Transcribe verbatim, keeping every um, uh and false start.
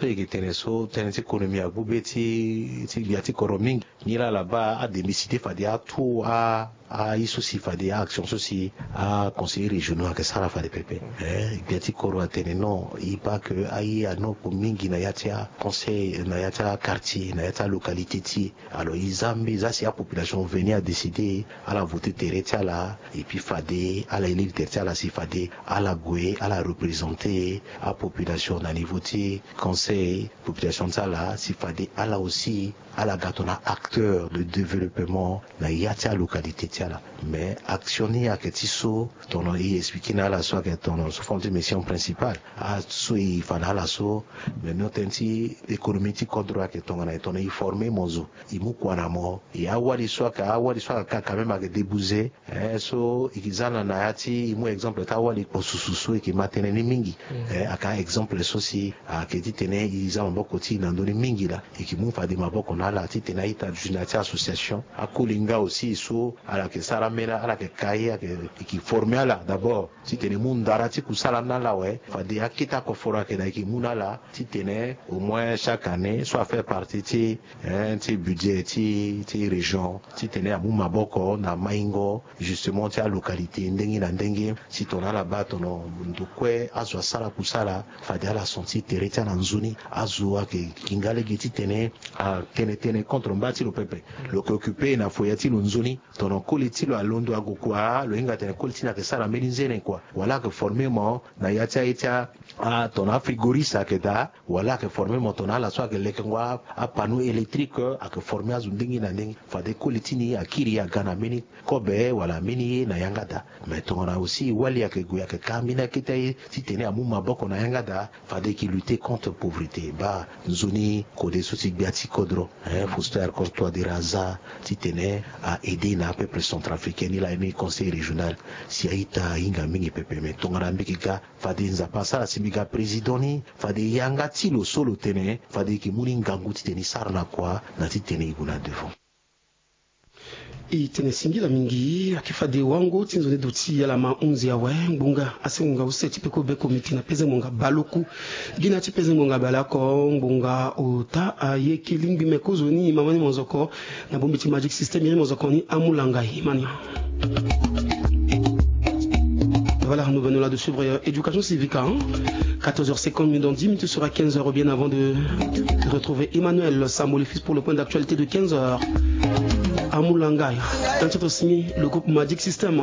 So e yeke tene so tënë ti économie agu be ti ti gbia ti kodro mingi. Nilaa ala baa ademisi te fade atu a aye so si fade a-action so si aconseillers régionaux ayeke sara fade pepe. Gbia ti kodro atene non, e baa ke aye anopo mingi na ya ti aconseil, na ya ti aquartier, na ya ti alocalité ti e. Alors e za mbi e za si apopulation veni adécider ala voter tere ti ala, et puis fade ala élire tere ti ala si fade ala gue ala représenter apopulation na niveau ti conseil, population ti ala si fade ala aussi ala ga tongana acteur de développement na ya ti alocalité ti ala. Mais action ni ayeke ti so tongana e expliquer na ala so ayeke tongana sous forme ti mission principale, aso e fa na ala so. Mais non, tënë ti économie ti kodro ayeke tongana e tongana e former mo zo, e mu kua na mo. E awali so ayeke awali so ayeke ka quand même ayeke débouger. Eh, so e ke za na na ya ti e mu exemple ti awali kpo susu so e ke ma tënë ni mingi. Eh, ayeke a-exemple so si ayeke titene e za maboko ti e na ndö ni mingi laa. E ke mu fade maboko na ala titene a-ita dunia ti association, akoli nga aussi so ala yeke sara ambeni ala yeke ka ye ayeke e ke former ala d'abord titene e mu ndara ti kusala ni na ala awe. Fade akete akoforo ayeke daa e ke mu na ala titene au moins chaque année so a fait partie ti eh, ti budget ti ti région titene amu maboko na maingo justement ti alocalité ndenge na ndenge. Si tongana ala baa tongana ndo kue azo asara kusala, fade ala sentir tere ti ala nzoni. Azo ayeke ginga lege titene atene tënë contre mba ti lo pepe. Lo yeke occuper na foyer ti lo nzoni. Tongana koli ti lo alondo ague kua, lo hinga atene koli ti ni ayeke sara mbeni nzene kua. Wala ayeke former mo na ya ti aye ti a, tongana afrigoriste ayeke daa, wala ayeke former mo tongana ala so ayeke lekengo apanneau électrique, ayeke former azo ndenge na ndenge. Fade koli ti ni akiri aga na mbeni kobe wala mbeni ye na yanga daa. Mais tongana aussi wali ayeke gue ayeke ka mbeni akete aye titene amu maboko na yanga daa, fade e ke lutter contre pauvreté. Baa nzoni kode so ti gbia ti kodro, eh, Faustin Archange Touadéra aza titene a aider na apeuple centrafricain. Ni laa ni conseil régional si a-ita ahinga mingi pepe. Mais tongana mbi ke ga, fade Nzapa asara si mbi ga président ni, fade yanga ti lo so lo tene fade e ke mu ni ngangu titene e sara na kua na titene e gue na devant. E tene singila mingi. Ayeke fade wango ti nzoni duti ala ma hunzi awe. Ngbonga asengo nga use ti peko beko miti na peze ngbonga baleoku. Gi na ya ti peze ngbonga baleoko, ngbonga ota aye ki lingbi me kozoni mama ni mozoko. Na bongbi ti Magic System iri mozoko ni amulanga imani. Voilà, nous venons là de suivre, euh, Éducation Civique, hein. Quatorze heures cinquante minutes, dans dix minutes sera quinze heures, bien avant de retrouver Emmanuel Samboli Fils pour le point d'actualité de quinze heures. Amulanga, un titre signé le groupe Magic System.